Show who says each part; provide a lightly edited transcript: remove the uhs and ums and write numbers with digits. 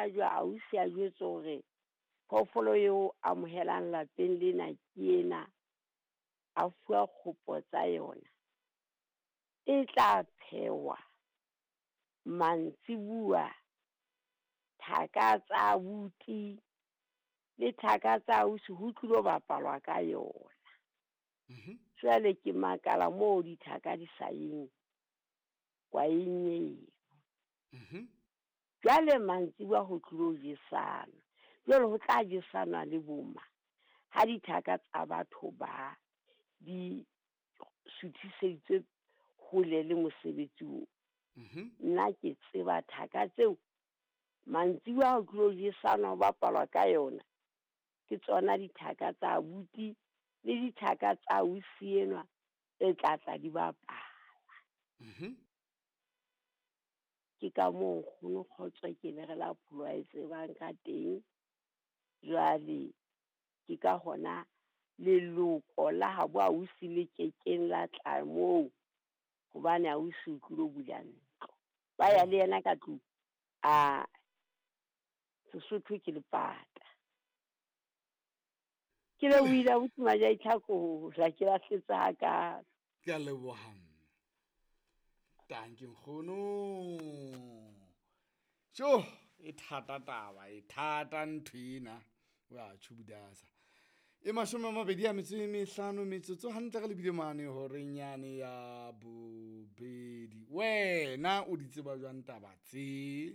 Speaker 1: hlajwa, ausi a jwetswa hore phoofolo eo amohelang lapeng lena ke ena, a fuwa kgopo tsa yona. E tla phehwa mantsibuya, thaka tsa abuti le thaka tsa ausi ho tlilo bapalwa ka yona. Jwale ke makala moo dithaka di sa yeng kwaeng eo. Jwale mantsibuya ho tlilo jesana, jwale ho tla jesana le boma ha dithaka tsa batho ba di suthiseditswe hole le mosebetsi oo. Nna ke tseba thaka tseo mantsibuya ho tlilo jesana ho bapalwa ka yona. Ke tsona dithaka tsa abuti le dithaka tsa ausi enwa tse tla tla di bapala. Ke ka moo nkgono Kgotso ke lere la pholo a e tsebang ka teng. Jwale ke ka hona leloko la habo ausi le kekeng la tla moo, hobane ausi o tlilo bula ntlo. Ba ya le yena ka tlung, a Sesotho ke lepata. Ke lebohile abuti Majaitlhakola, ke lahletse hakalo.
Speaker 2: Ke a leboha mme. Tanki nkgono. Jo, e thata taba, e thata ntho ena. Wa tjhubudasa. E 25 metsotso hantle re lebile mane horeng yane ya bobedi. Wena o di tseba jwang taba tse?